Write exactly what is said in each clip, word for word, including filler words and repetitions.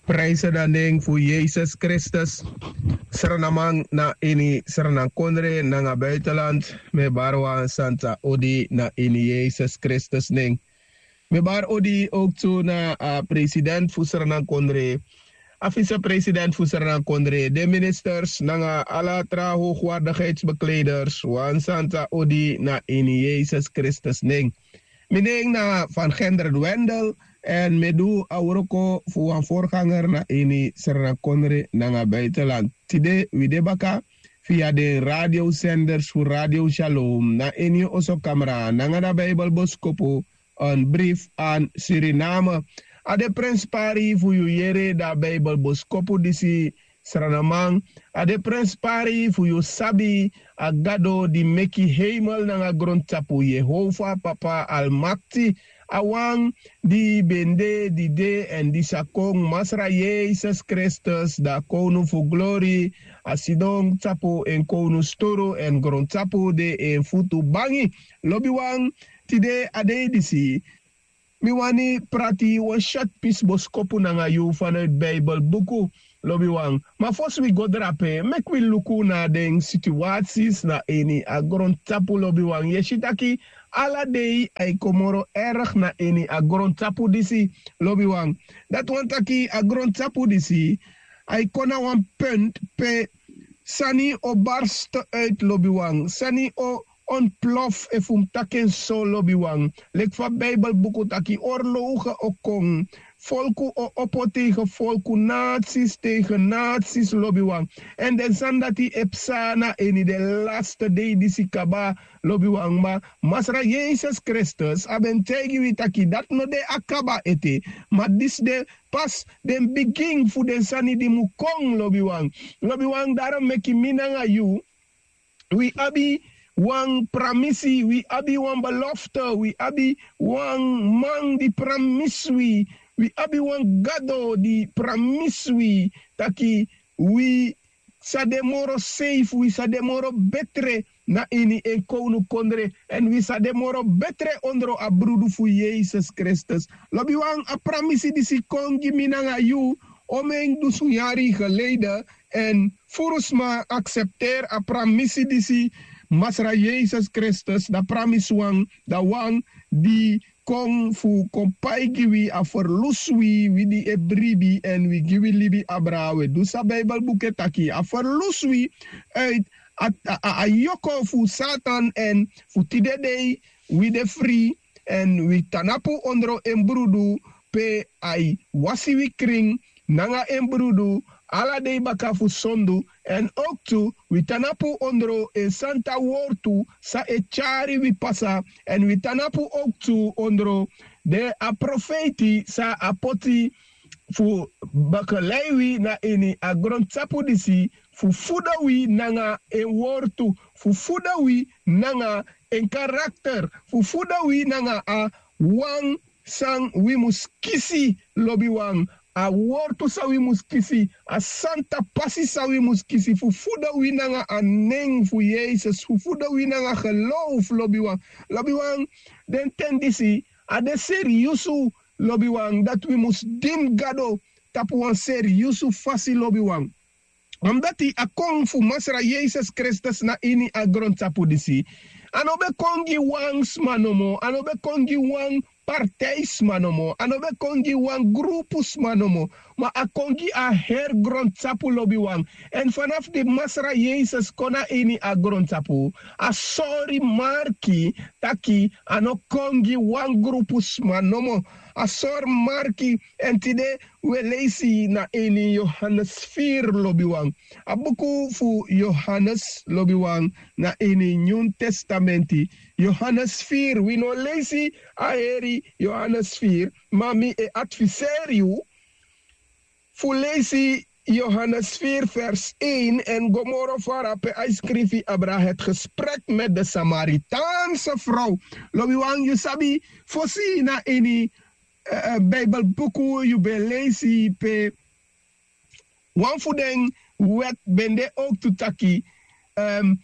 Prijse dan nen fu Yesus Kristus. Sranaman na ini sranankondre nanga buitenland. Mi e bari wan santa odi na ini Yesus Kristus nen. Mi e bari odi ook tu na a president fu sranankondre, a vicepresident fu sranankondre, den ministers nanga ala tra hoogwaardigheidsbekleders, wan santa odi na ini Yesus Kristus nen. Mi nen na Van Gendert Wendel, èn mi e du a wroko fu wan voorganger na ini sranankondre nanga buitenland. Tide wi de baka via den radiosenders fu Radio Shalom na ini oso kamra nanga na Bijbelboskopu, een brief aan Suriname. A de prenspari fu yu yere da Bijbelboskopu disi, sranaman. A de prenspari fu yu sabi a Gado di meki heimel nanga grontapu, Yehova Papa Almakti, a wan di ben de, di de èn di sa kon, Masra Yesus Kristus, da kownu fu glori, a sidon tapu en kownu sturu èn grontapu de en futu bangi. Lobiwan, tide a dei disi mi wani prati wan short pisi boskopu nanga yu vanuit Bijbelbuku, lobiwan. Ma fosi wi go drape, meki wi luku na den situaties na ini a grontapu, lobiwan. Yu e si taki ala dei a e kon moro erg na ini a grontapu disi, lobiwan. Dati wani taki a grontapu disi a e kon na wan punt pe sani o barst uit, lobiwan. Sani o ontplof, efu mi taki en so, lobiwan. Leki fa Bijbelbuku taki, oorlogen o kon. Folku o opo tegen folku, naties tegen naties, lobiwan. Èn den sani dati e psa na ini den laste dei disi kaba, lobiwan. Ma Masra Yesus Kristus a ben taigi wi taki dati no de a kaba ete. Ma disi de pas den bigin fu den sani di mu kon, lobiwan. Lobiwan, daro meki mi nanga yu, wi abi wan pramisi, wi abi wan belofte, wi abi wan man di pramisi wi, wi abi wan Gado di pramisi wi taki wi sa de moro seif, wi sa de moro betre na ini en kownukondre, èn wi sa de moro betre ondro a brudu fu Yesus Kristus. Lobiwan, a pramisi disi kon gi mi nanga yu omen dusun yari geleden, èn furu sma aksepteri a pramisi disi. Masra Yesus Kristus, da pramisi wan, da wan di kon fu kon pai gi wi, a ferlusu wi, wi di e bribi èn wi gi wi libi abra. Wi e du san Bijbelbuku e taki, a ferlusu wi uit a, a, a, a yoko fu Satan, èn fu tide dei wi de fri, èn wi tan tapu ondro en brudu, pe a e wasi wi krin nanga en brudu ala dei baka fu sondu. Èn ook tu wi tan tapu ondro en santa wortu san e tyari wi pasa, èn wi tan tapu ook tu ondro den a profeiti san a poti fu begeleid wi na ini a grontapu disi, fu fudo wi nanga en wortu, fu fudo wi nanga en karakter, fu fudo wi nanga a wan san wi mus kisi, lobiwan. A wortu san wi mus kisi, a santa pasi san wi mus kisi, fu fudo wi nanga a nen fu Yesus, fu fudo wi nanga geloof, lobiwan. Lobiwan, den ten disi a de seriusu, lobiwan, dati wi mus dini Gado tapu wan seriusu fasi, lobiwan. Omdat a kon fu Masra Yesus Kristus na ini a grontapu disi, a no ben kon gi wan sma nomo, a no ben kon gi wan partij sma nomo, a no ben kon gi wan grupu sma nomo, ma a kon gi a heri grontapu, lobiwan. Èn fanafu di Masra Yesus kon na ini a grontapu, a sori marki taki a no kon gi wan grupu sma nomo. A sori marki, èn tide wi e leisi na ini Yohanes firi, lobiwan. A buku fu Yohanes, lobiwan, na ini Nyun Testamenti. Yohanes firi, wi no leisi a heri Yohanes firi, ma mi e adviseri yu fu leisi Yohanes firi vers een èn go moro fara pe a e skrifi abra het gesprek met de Samaritaanse vrouw. Lobiwan, yu sabi, fosi na ini, eh, eh, Bijbelbuku yu ben leisi pe wan fu den wet ben de ook tu taki, ehm,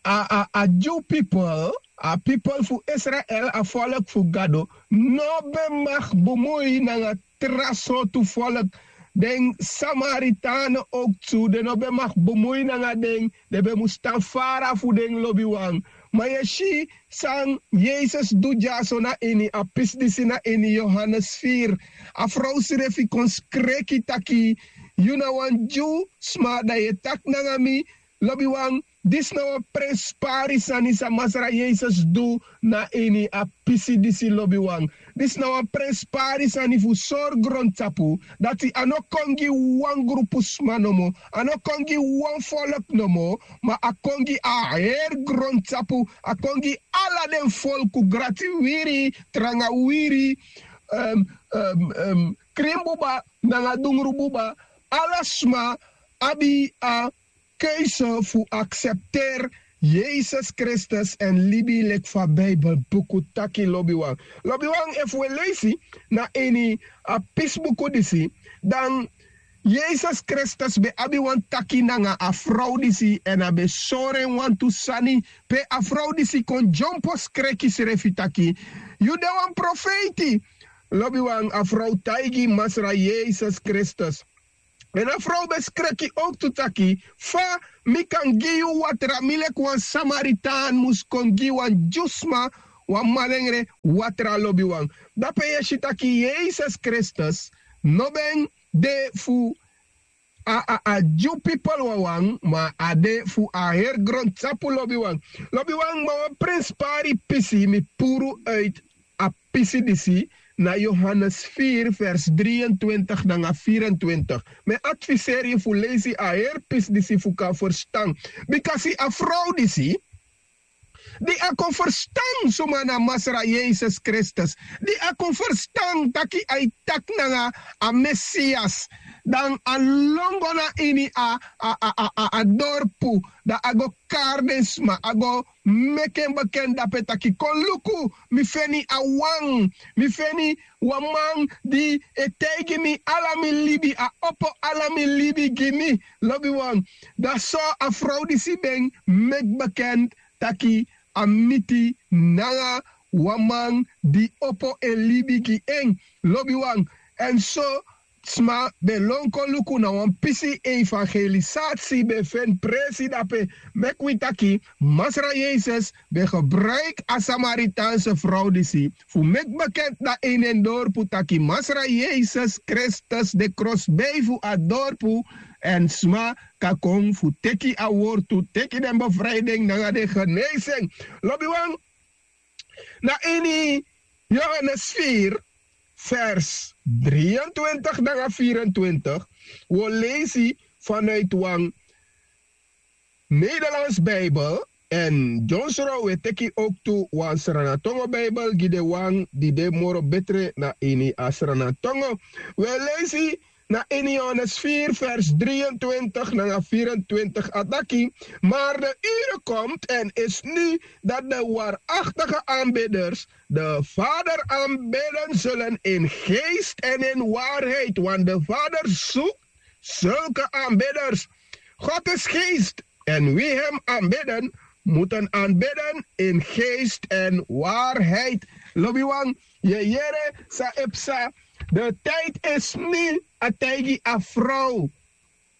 a, a, a Jew people, a people fu Israel, a volk fu Gado, no ben mag bemui nanga tra sortu volk. den samaritane owktu den no ben mag bemui nanga den. Den ben mus tan fara fu den lobiwan. Ma yu e si san yesus du dyaso na ini a pisi disi na ini yohanes firi. A frow srefi kon skreki taki, yu na wan dyu sma dan yu e taki nanga mi. Lobiwan, disi na wan prenspari sani san masra yesus du na ini a pisi disi lobiwan. Disi na wan prenspari sani fu sori grontapu dati a no kon gi wan grupu sma nomo, a no kon gi wan folk nomo, ma a kon gi a heri grontapu, a kon gi ala den folku, grati wiri, tranga wiri, em, em, em, krin buba nanga dungru buba. Ala sma abi a keuze fu aksepteri yesus kristus èn libi leki fa bibelbuku taki lobiwan. Lobiwan, efu wi e leisi na ini a pisibuku disi, dan yesus kristus ben abi wan taki nanga a frow disi èn a ben sori en wantu sani, pe a frow disi kon dyompo skreki srefi taki, yu de wan profeiti. Lobiwan, a frow taigi masra yesus kristus. Èn a frow ben skreki owktu taki, fa mi kan gi yu watra, mi leki wan samaritan mus kon gi wan dyusma wan malengre watra, lobiwan. Dape yu e si taki yesus kristus no ben de fu a a a dyu pipel wawan, ma a de fu a heri grontapu, lobiwan. Lobiwan, ma wan prenspari pisi mi puru uit a pisi disi na yohanes firi vers dri en twintig nanga firi en twintig. Mi e adviseri yu fu leisi a heri pisi disi fu kan ferstan. Bika si a frow disi di a kon ferstan suma na masra yesus kristus, di a kon ferstan taki a e taki nanga a mesias, dan a lon go na ini a a a a a dorpu, dan a go kari den sma, a go meki en bekenti dape taki kon luku, mi feni a wan, mi feni wan man di e taigi mi ala mi libi, a opo ala mi libi gi mi. Lobiwan, dan so a frow disi ben meki bekenti taki a miti nanga wan man di opo en libi gi en. Lobiwan, èn so sma ben lon kon luku na wan pisi evangelisatsi ben feni presi dape. Meki wi taki masra yesus ben gebruiki a samaritaanse frow disi fu meki bekenti na ini en dorpu taki masra yesus kristus de krosbei fu a dorpu, èn sma kan kon fu teki a wortu, teki den befrijding nanga den geneising. Lobiwan, na ini yohanes firi vers dri en twintig nanga firi en twintig, wi o leisi vanuit wan nederlands bijbel. Èn dyonsro wi e teki owktu wan sranatongo bijbel gi den wan di de moro betre na ini a sranatongo. Wi e leisi na ini yohanes firi vers dri en twintig nanga firi en twintig, a taki, maar de ure komt en is nu dat de waarachtige aanbidders de vader aanbidden zullen in geest en in waarheid, want de vader zoekt zulke aanbidders. God is geest en wie hem aanbidden, moeten aanbidden in geest en waarheid. Lobiwan, yu e yere san e psa. De tijd is nu, a taigi a frow.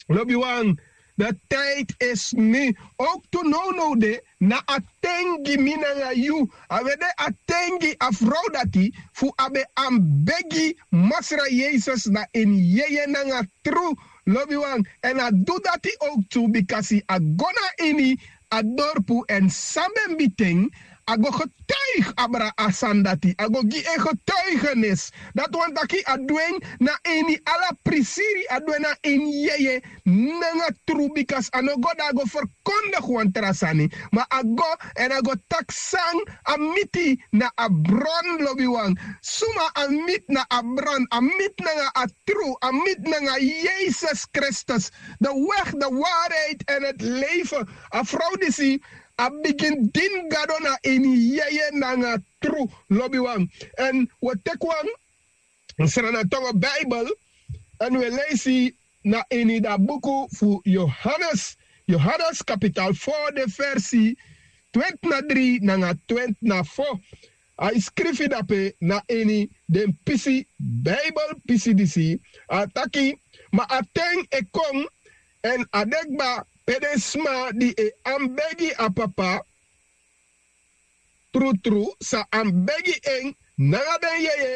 Lobiwan, de tijd is nu. Owktu nownow de na a ten gi mi nanga yu. A ben de a ten gi a frow dati fu a ben anbegi masra yesus na en yeye nanga tru. Lobiwan, èn a du dati owktu bikasi a go na ini a dorpu èn san ben biten, a go getuigi abra a sani dati, a go gi en getuigenis. Dati wani taki a du en na ini ala prisiri, a du en na ini yeye nanga tru, bikasi a no go dan a go ferkondigi wan tra sani, ma a go èn a go taki san a miti na a bron. Lobiwan, suma a miti na a bron, a miti nanga a tru, a miti nanga yesus kristus, de weg, de waarheid en het leven. A frow disi a bigin dini gado na ini yeye nanga tru, lobiwan. Èn wi e teki wan sranatongo bijbel èn wi e leisi na ini da buku fu yohanes, yohanes kapital fo, de versi twenti na dri nanga twenti na fo. A e skrifi dape na ini den pisi, bijbel pisi disi. A taki, Ma a ten e kon, èn a de kba pe den sma di e anbegi a Papa trutru sa anbegi en nanga den yeye,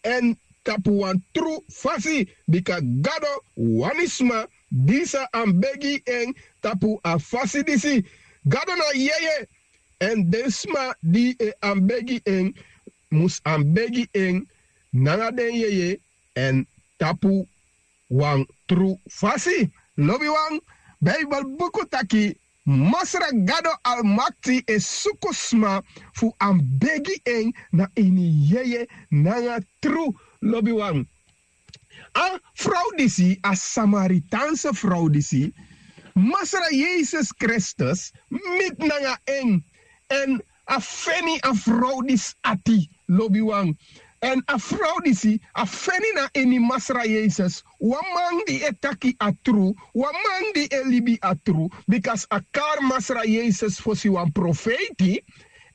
èn tapu wan tru fasi, bika Gado wani sma di sa anbegi en tapu a fasi disi. Gado na yeye, èn den sma di e anbegi en mus anbegi en nanga den yeye èn tapu wan tru fasi. Lobiwan, Beibel buku taki Masra Gado Almakti e suku sma fu anbegi en na ini yeye nanga tru. Lobiwan, a frow disi, a Samaritaanse frow disi, Masra Yesus Kristus miti nanga en, èn a feni a frow disi ati, lobiwan. Èn a frow disi a feni na ini Masra Yesus wan man di e taki a tru, wan man di e libi a tru, bika a kari Masra Yesus fosi wan profeiti.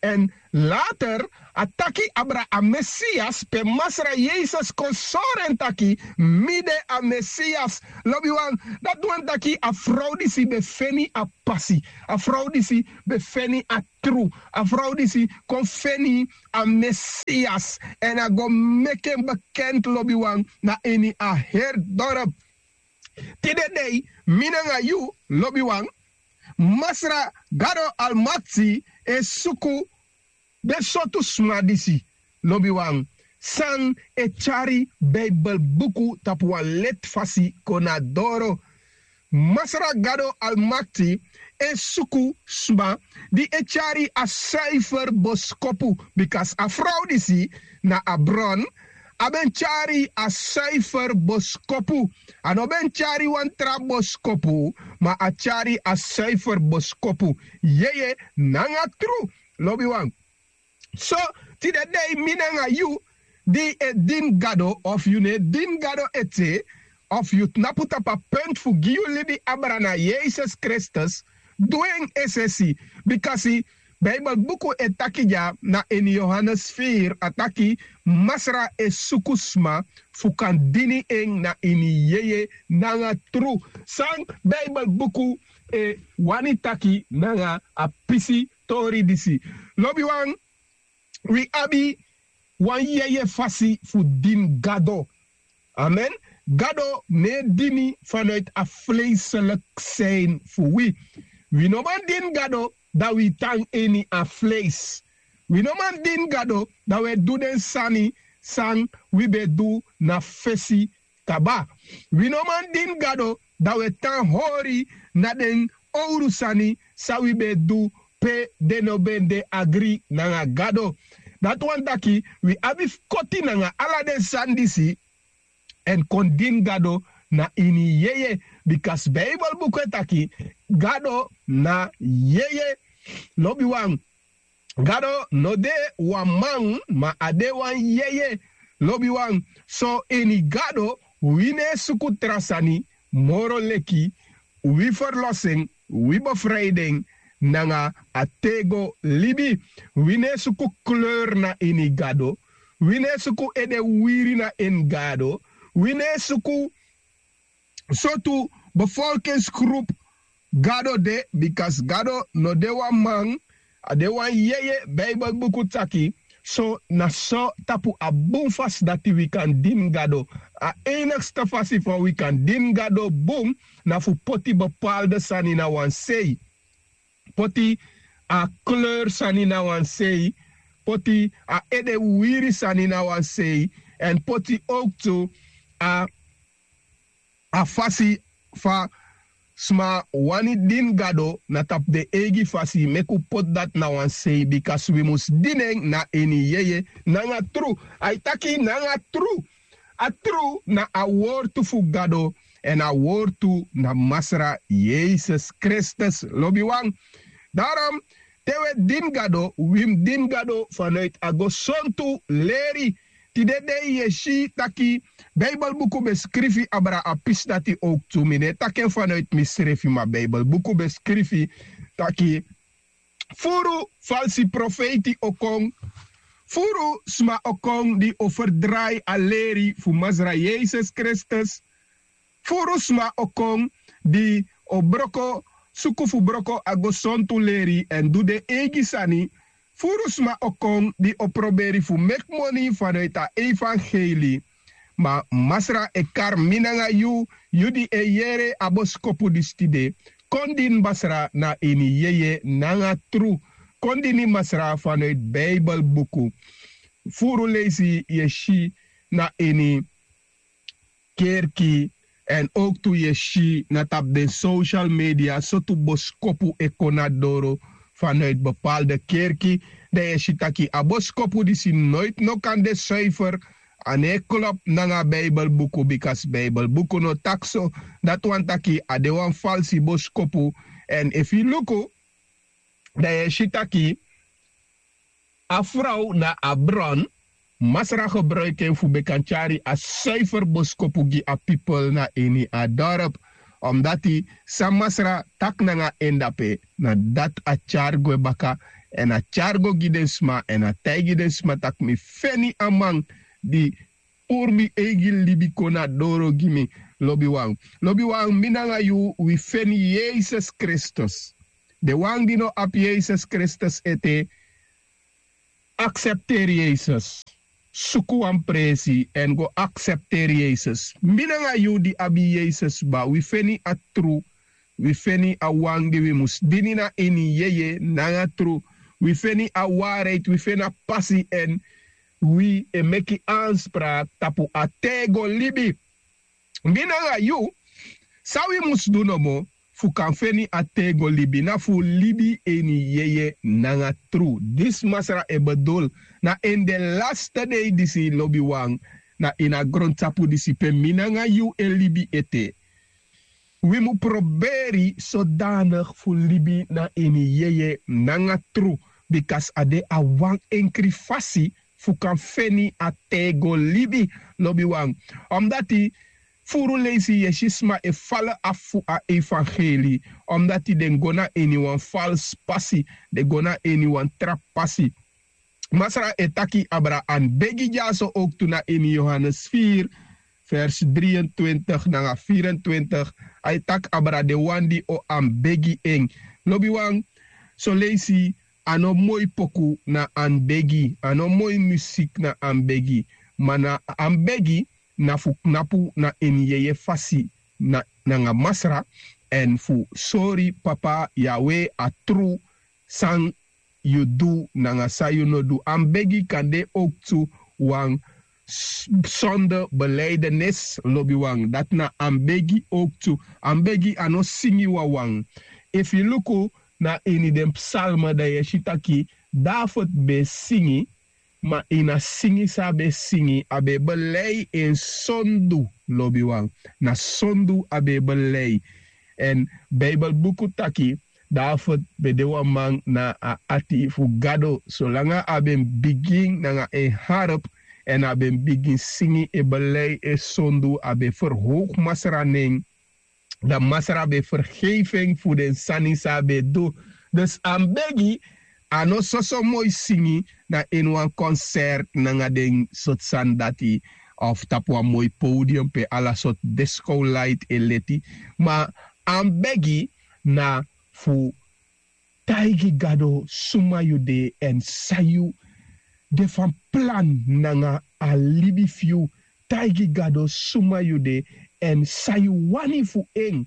Èn later a taki abra a Mesias, pe Masra Yesus kon sori en taki mi de a Mesias. Lobiwan, dati wani taki a frow disi ben feni a pasi, a frow disi ben feni a tru, a frow disi kon feni a Mesias, èn a go meki en bekenti, lobiwan, na ini a heri dorp. Tide dei, mi nanga yu, lobiwan, Masra Gado Almakti e suku den sortu sma disi, lobiwan, san e tyari Beibel buku tapu wan leti fasi kon na doro. Masra Gado Almakti e suku sma di e tyari a suifer boskopu, bika a frow disi na a bron, a ben tyari a suifer boskopu. A no ben tyari wan tra boskopu, ma a tyari a suifer boskopu, yeye nanga tru, lobiwan. So, tide dei mi nanga yu di e dini Gado, of yu no e dini Gado ete, of yu tnapu tapu a penti fu gi yu libi abra na Yesus Kristus, du en esesi, bika Beibel buku e taki dya na ini Yohanes firi, a taki Masra e suku sma fu kan dini en na ini yeye nanga tru. San Beibel buku e wani taki nanga a pisi tori disi? Lobiwan, wi abi wan yeye fasi fu dini Gado. Amen. Gado no e dini vanuit a vleeselijk zijn fu wi. Wi no man dini Gado dan wi tan ini a vlees. Wi no man dini Gado dan wi e du den sani san wi ben du na fesi kaba. Wi no man dini Gado dan wi e tan hori na den owru sani san wi ben du pe den no ben de agri nanga Gado. Dati wani taki wi abi fu koti nanga ala den sani disi èn kon dini Gado na ini yeye, bika Beibel buku e taki Gado na yeye. Lobiwan, Gado no de wan man, ma a de wan yeye. Lobiwan, so ini Gado wi no e suku tra sani moro leki wi ferlosi en, wi befrij den nanga a tego libi. Wi no e suku kleur na ini Gado. Wi no e suku ede wiri na ini Gado. Wi no e suku sortu bevolkingsgroep Gado de, bika Gado no de wan man, a de wan yeye. Beibel buku taki. So na so tapu a bun fasi dati wi kan dini Gado. A enigste fasi fa wi kan dini Gado bun na fu poti bepaalde sani na wan sei. Poti a kleur sani na wan sei, poti a ede wiri sani na wan sei, èn poti owktu a a fasi fa sma wani dini Gado na tapu den eigi fasi, meki un poti dati na wan sei, bika wi mus dini en na ini yeye nanga tru. A e taki nanga tru. A tru na a wortu fu Gado, èn a wortu na Masra Yesus Kristus. Lobiwan, darom te wi e dini Gado, wi mus dini Gado vanuit a gesontu leri. Tide dei yu e si taki Beibel buku ben skrifi abra a pisi dati owktu. Mi no e taki en vanuit misrefi, ma Beibel buku ben skrifi taki furu falsi profeiti o kon, furu sma o kon di o ferdrai a leri fu Masra Yesus Kristus. Furu sma o kon di o broko suku fu broko a gosontu leri èn du den eigi sani. Furu sma o kon di o proberi fu meki moni fanoiti a evangeli. Ma Masra e kari mi nanga yu, yu di e yere a boskopu disi tide. Kon dini Masra na ini yeye nanga tru. Kon dini Masra fanoiti Bijbelbuku. Furu leisi yu e si na ini kerki èn owktu yu e si na tapu den social media sortu boskopu e kon na doro fanoiti bepaalde kerki. Dan yu e si taki a boskopu disi noiti no kan de suifer. A no e klop nanga Bijbelbuku bikasi Bijbelbuku no taki so. Dati wani taki a de wan falsi boskopu. Èn efu yu luku dan yu e si taki a frow na a bron Masra gebruiki en fu ben kan tyari a suifer boskopu gi a pipel na ini a dorp. Omdati san Masra taki nanga en dape na dati a tyari gwe baka. Èn a tyari go gi den sma èn a taigi den sma tak' mi feni a man di puru mi eigi libi kon na doro gi mi. Lobiwan, lobiwan, mi nanga yu wi feni Yesus Kristus. Den wan di no abi Yesus Kristus ete, aksepteri Yesus. Suku wan presi èn go aksepteri Yesus. Mi nanga yu di abi Yesus kba, wi feni a tru. Wi feni a wan di wi mus dini na ini yeye nanga tru. Wi feni a waarheid, wi feni a pasi èn wi e meki aanspraak tapu a tego libi. Mi nanga yu, san wi mus du nomo fu kan feni a tego libi na fu libi ini yeye nanga tru. Disi Masra e bedul na ini den laste dei disi, lobiwan, na ini a grontapu disi pe mi nanga yu e libi ete. Wi mu proberi sodanig fu libi na ini yeye nanga tru. Bikasi a de a wan enkri fasi fu kan feni a tego libi, lobiwan. Omdati furu leisi yu e si sma e fala afu fu a evangeli. Omdati den go na ini wan falsi pasi, den go na ini wan tra pasi. Masra e taki abra an begi dyaso owktu na ini Yohanes firi, vers dri en twintig nanga firi en twintig. A e taki abra den wan di o an begi en. Lobiwan, soleisi a no moi poku na an begi, a no moi musik na an begi. Ma na an begi na fu knapu na ini yeye fasi nanga Masra, èn fu sori Papa Yawe a tru san yu du nanga san yu no du. An begi kan de owktu wan sonde beleidenis, lobiwan. Dati na an begi owktu. An begi a no singi wawan. Efu yu luku na ini den psalme dan yu e si taki David ben e singi, ma ini a singi san a ben e singi a ben e belei en sondu, lobiwan. Na sondu a ben e belei. Èn Bijbelbuku taki David ben de wan man na a ati fu Gado. Solanga a ben bigin nanga en harp èn a ben bigin singi e belei e sondu, a ben ferhowgu Masra nen. Dan Masra ben fergeifi en fu den sani san a ben du. Dus a mus begi. A no soso moi singi na ini wan konsert nanga den sortu sani dati, of tapu wan moi podium pe ala sortu diskowlaiti e leti. Ma a mus begi na fu taigi Gado suma yu de èn san yu de fan plan nanga a libi fu yu. Taigi Gado suma yu de èn san yu wani fu en.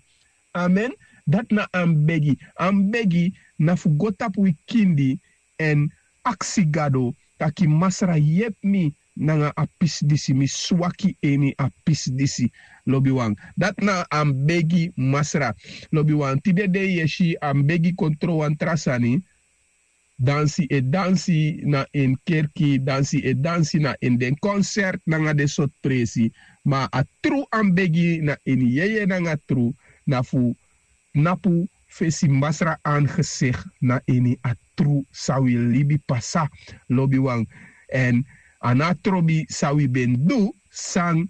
Amen. Dati na a mus begi. A mus begi na fu go tapu wi kindi èn aksi Gado taki Masra yepi mi nanga a pisi disi, mi swaki ini a pisi disi. Lobiwan, dati na a mus begi Masra. Lobiwan, tide dei yu e si a mus begi kon tron wan tra sani. Dansi e dansi na ini kerki, dansi e dansi na ini den konsert nanga den sortu presi. Ma a tru a mus begi na ini yeye nanga tru na fu knapu fesi Masra angesicht na ini a tru san wi libi pasa, lobiwan. Èn a no a trobi san wi ben du, san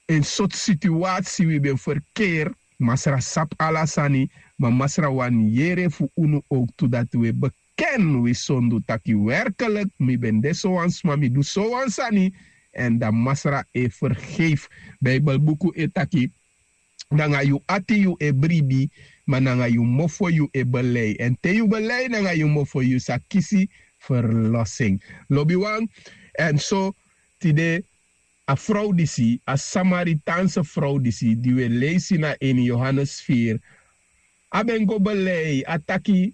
en sortu situasi wi ben ferkeri. Masra sabi ala sani, ma Masra wani yere fu unu owktu dati wi e beken wi sondu taki werkelik mi ben de sowan sma, mi du sowan sani. Èn dan Masra e fergeifi. Bijbelbuku e taki nanga yu ati yu e bribi, ma nanga yu mofo yu e belei. Èn te yu belei nanga yu mofo, yu sa kisi ferlosin. Lobiwan, èn so tide a frow disi, a Samaritaanse frow disi di wi e leisi na ini Yohanes firi, a ben go belei, a taki,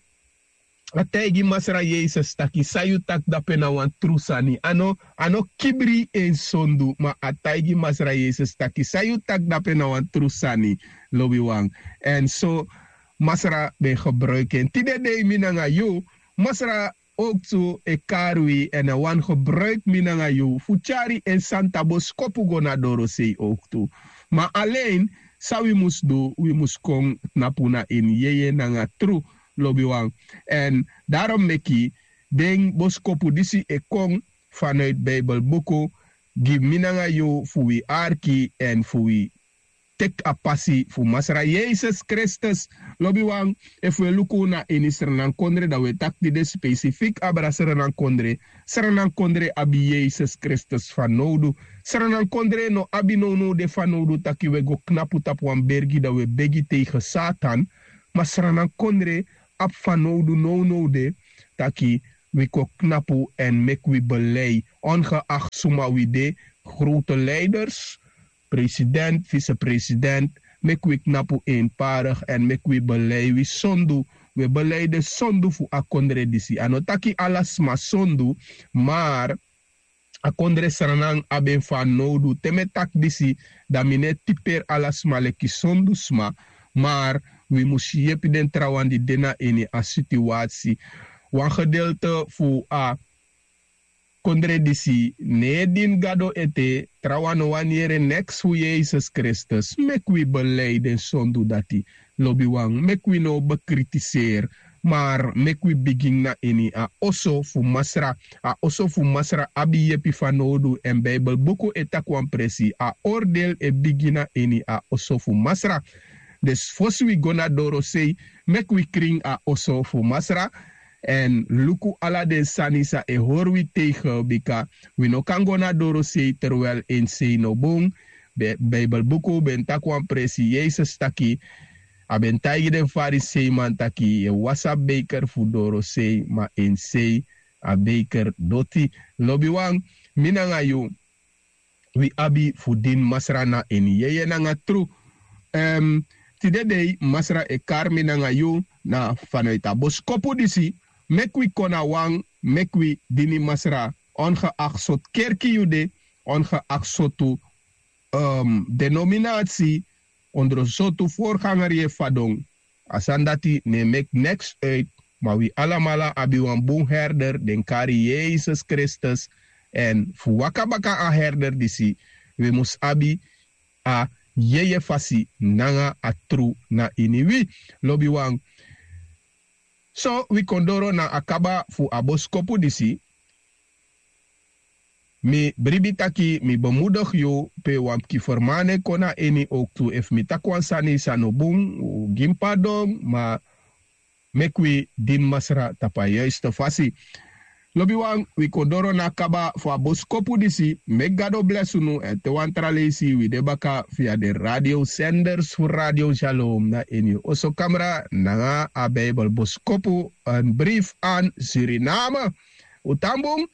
a taigi Masra Yesus taki san yu taki dape na wan tru sani. A no, a no kibri en sondu, ma a taigi Masra Yesus taki san yu taki dape na wan tru sani. Lobiwan. Èn so Masra ben gebruiki en. Tide dei mi nanga yu, Masra owktu e kari wi èn a wani gebruiki mi nanga yu fu tyari en santa boskopu go na dorosei owktu. Ma alen san wi mus du, wi mus kon knapu na ini yeye nanga tru. Lobiwan. Èn darom meki den boskopu disi e kon fanuiti Bijbelbuku gi mi nanga yu fu wi arki èn fu wi teki a pasi fu Masra Yesus Kristus. Lobiwan, efu wi e luku na ini Srananakondre, dan wi e taki tide spesifik abra Srananakondre. Srananakondre abi Yesus Kristus fanowdu. Srananakondre no abi nownow de fanowdu taki wi e go knapu tapu wan bergi dan wi e begi tegen Satan. Ma Srananakondre abi fanowdu nownow de taki wi kon knapu èn meki wi belei, ongeacht suma wi de, grote leiders, president, vicepresident, meki wi knapu eenparig èn meki wi belei wi sondu. Wi e belei den sondu fu a kondre disi. A no taki ala sma sondu, maar a kondre Sranan abi en fanowdu. Te mi e taki disi, dan mi no e tiperi ala sma leki sondu sma, maar wi mus yepi den trawan di de na ini a situasi. Wan gedeelte fu a kondre disi no e dini Gado ete, trawan no wani yere neks fu Yesus Kristus. Meki wi belei den sondu dati. Lobiwan, meki wi no bekritiseri, maar meki wi bigin na ini a oso fu Masra. A oso fu Masra abi yepi fanowdu èn Bijbelbuku e taki wan presi, a oordeel e bigin na ini a oso fu Masra. Dus fosi wi go na dorosei, meki wi krin a oso fu Masra èn luku ala den sani san e hori wi tegen, bika wi no kan go na dorosei terwijl en sei no bun. Bijbelbuku ben taki wan presi, Yesus taki, a ben taigi den Fariseiman taki yu e wasi a beiker fu dorosei ma en sei a beiker doti. Lobiwan, mi nanga yu, wi abi fu dini Masra na ini yeye nanga tru. Tide dei Masra e kari mi nanga yu na fanuiti a boskopu disi, meki wi kon na wan, meki wi dini Masra, ongeacht sortu kerki yu de, ongeacht sortu denominasi, ondro sortu vorganger yu e fadon. A sani dati no e meki neks uit, ma wi alamala abi wan bun herder den kari Yesus Kristus. Èn fu waka baka a herder disi, wi mus abi a yeye fasi nanga a tru na ini wi. Lobiwan, so wi kon doro na a kaba fu a boskopu disi. Mi bribi taki mi bemudigi yu pe wan pikin fermane kon na ini owktu, efu mi taki wan sani san no bun, gi mi pardon, ma meki wi dini Masra tapu a yuiste fasi. Lobiwan, wi kon doro na a kaba fu a boskopu disi. Meki Gado blesi unu èn te wan tra leisi wi de baka via den radiosenders fu Radio Shalom na ini yu oso kamra nanga a Bijbel boskopu, een brief aan Suriname. Un tan bun,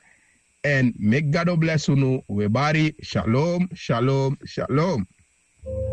èn meki Gado blesi unu. Wi e bari, shalom, shalom, shalom.